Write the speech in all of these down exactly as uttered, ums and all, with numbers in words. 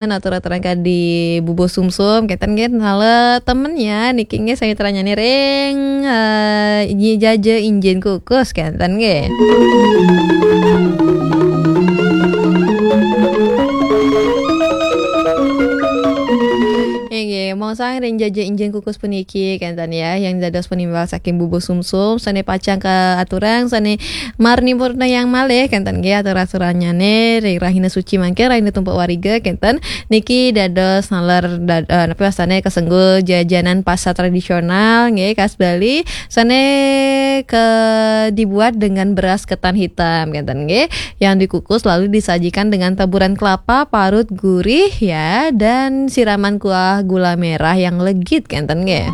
atur-aturan kadi bubur sumsum, kenten nggih, nala temennya niki nggih, sami aturannyané ring, eh, Nyi Jaja Injin Kukus, kenten nggih. Inggih, mongsang ring Jaja Injin Kukus puniki, kenten ya, yang dados penimbal saking bubur sumsum, sané pacang kaaturang, sané marnipurna yang malih, kenten nggih, atur-aturannyané ring rahina suci mangkin, rahina tumpek wariga, kenten niki dados naler dad-, eh, napi wastané kasengguh jajanan pasar tradisional nggih, khas Bali, sané ke dibuat dengan beras ketan hitam, kenten nggih, yang dikukus lalu disajikan dengan taburan kelapa parut gurih ya, dan siraman kuah gula merah yang legit, kenten nggih.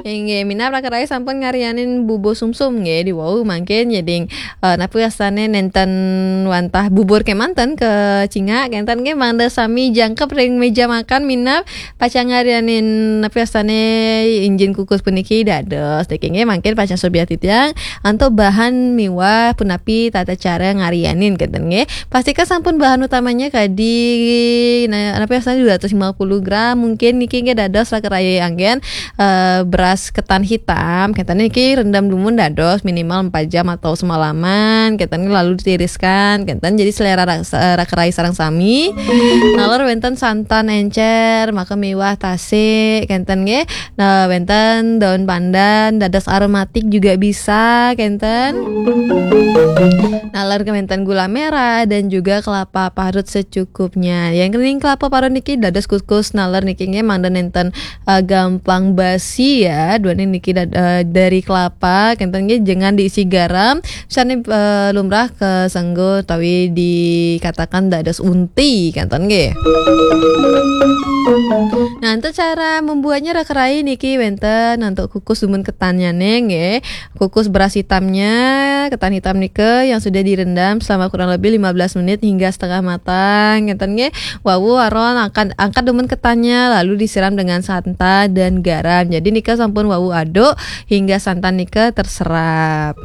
Inggih, minab raka rai sampun ngarianin bubur sumsum nggih, diwau mangkin jadi, eh, napi wastané nénten wantah bubur kémanten kacingak, kenten nggih, mangda sami jangkep ring méja makan, minab pacang ngarianin napi wastané injin kukus puniki dados. Niki nggih mangkin pacang subyakti titiang antuk bahan miwah punapi tata cara ngarianin, kenten nggih. Pastikan sampun bahan utamanya kadi, nah, napi wastané dua ratus lima puluh gram, mungkin niki nggih dados raka rai anggén, eh, beras ketan hitam, kenten niki rendam dumun dados minimal empat jam atau semalaman, kenten lalu ditiriskan, kenten jadi selera rasa, raka rai sareng sami. Naler wénten santan éncér, maka miwah tasik, kenten nggih. Nah, wénten daun pandan, dados aromatik juga bisa, kenten. Naler wénten gula merah dan juga kelapa parut secukupnya. Yang ring kelapa parut niki dados kukus naler niki nggih mangda nénten, eh, gamplang basi ya. Duaning niki dad-, eh, dari kelapa, kenten nggih, jangan diisi garam. Sané, eh, lumrah kasengguh utawi dikatakan dados unti, kenten nggih. Nah, untuk cara membuatnya raka rai niki wénten untuk kukus dumun ketannyané nggih. Kukus beras hitamnya, ketan hitam nika yang sudah direndam selama kurang lebih lima belas menit hingga setengah matang, kenten nggih. Wau aron angkat, angkat dumun ketannya lalu disiram dengan santan dan garam. Jadi nika sampun wau aduk hingga santan nika terserap.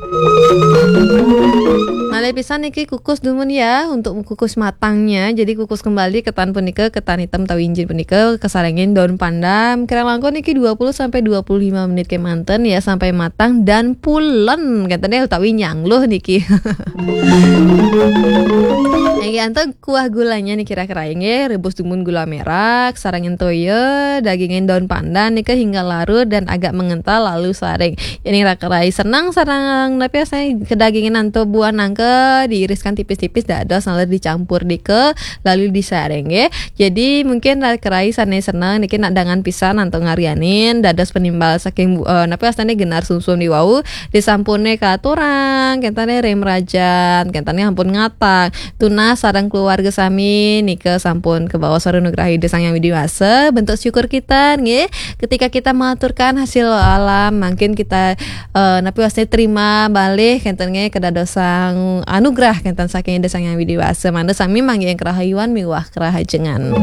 Malih pisan niki kukus dumun ya, untuk kukus matangnya. Jadi kukus kembali ketan punika, ketan hitam utawi injin punika kasarengin daun pandan. Kirang langkung niki dua puluh sampai dua puluh lima menit kémanten ya sampai matang dan pulen. Kenten ya utawi nyangluh niki. Nggih, antuk kuah gulanya niki raka rai nggih, rebus dumun gula merah, sarengin toya, dagingin daun pandan nika hingga larut dan agak mengental lalu saring. Yéning raka rai seneng sareng napi wastané kedagingan antuk buah nangka diiriskan tipis-tipis dados naler dicampur nika lalu disaring nggih. Jadi mungkin raka rai sané seneng niki nak dangan pisan antuk ngarianin dados penimbal saking bu-, eh, napi wastané genar sumsum diwau disampuné kaaturang, kenten ring mrajan, kenten ampun ngatang. Tunas sareng keluarga sami nika sampun kabaos sareng anugrah Ida Sang Hyang Widhi Wasa. Bentuk syukur kita nggih, ketika kita mengaturkan hasil alam, mungkin kita, eh, napi wastané terima malih kenten nggih kedadosan anugrah kenten saking Ida Sang Hyang Widhi Wasa. Mangda sami manggihin kerahayuan miwah kerahajengan.